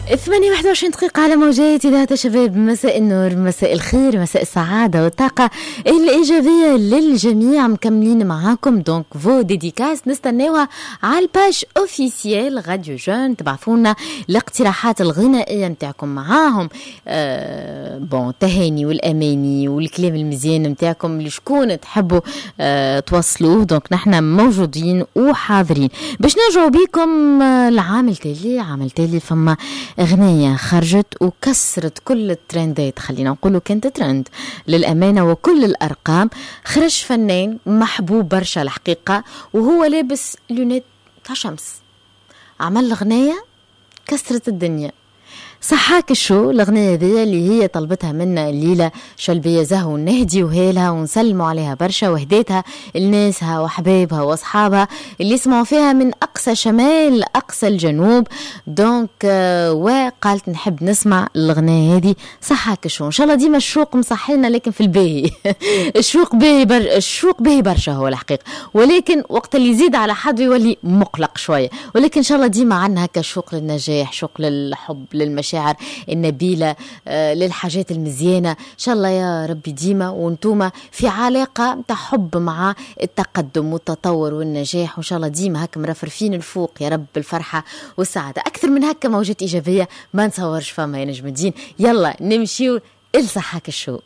8:21 دقيقة على موجات إذاعة الشباب. مساء النور، مساء الخير، مساء السعادة والطاقة الإيجابية للجميع. مكملين معاكم donc vos dédicaces نستناوها على ال page officielle Radio Jeunes. تبعثونا الاقتراحات الغنائية نتاعكم معاهم bon التهاني والأماني والكلام المزيان نتاعكم لشكون تحبوا توصلوه. donc نحن موجودين وحاضرين باش نرجعوا بيكم العام التالي. عام التالي فما أغنية خرجت وكسرت كل الترندات، خلينا نقولوا كانت ترند للأمانة وكل الأرقام. خرج فنان محبوب برشا الحقيقة وهو لابس lunettes تاع شمس، عمل أغنية كسرت الدنيا. صحاك الشو الأغنية ذي اللي هي طلبتها منا الليلة شلبية زهو، نهدي وهالها ونسلموا عليها برشا، وهديتها لناسها وحبايبها وأصحابها اللي يسمعوا فيها من أقصى شمال لأقصى الجنوب. donc وقالت نحب نسمع الأغنية هذه صحاك الشو. إن شاء الله ديما الشوق مصحينا، لكن في الباهي. الشوق باهي برشا هو الحقيقة، ولكن وقت اللي يزيد على حد يولي مقلق شوية. ولكن إن شاء الله ديما عندنا هكا شوق للنجاح، شوق للحب، للمشاعر النبيلة، للحاجات المزيانة. إن شاء الله يا ربي ديما وانتوما في علاقة تاع حب مع التقدم والتطور والنجاح، وإن شاء الله ديما هكا مرفرفين الفوق يا رب بالفرحة والسعادة. أكثر من هكا موجات إيجابية ما نصورش فما يا نجم الدين. يلا نمشيو لصحاك الشو.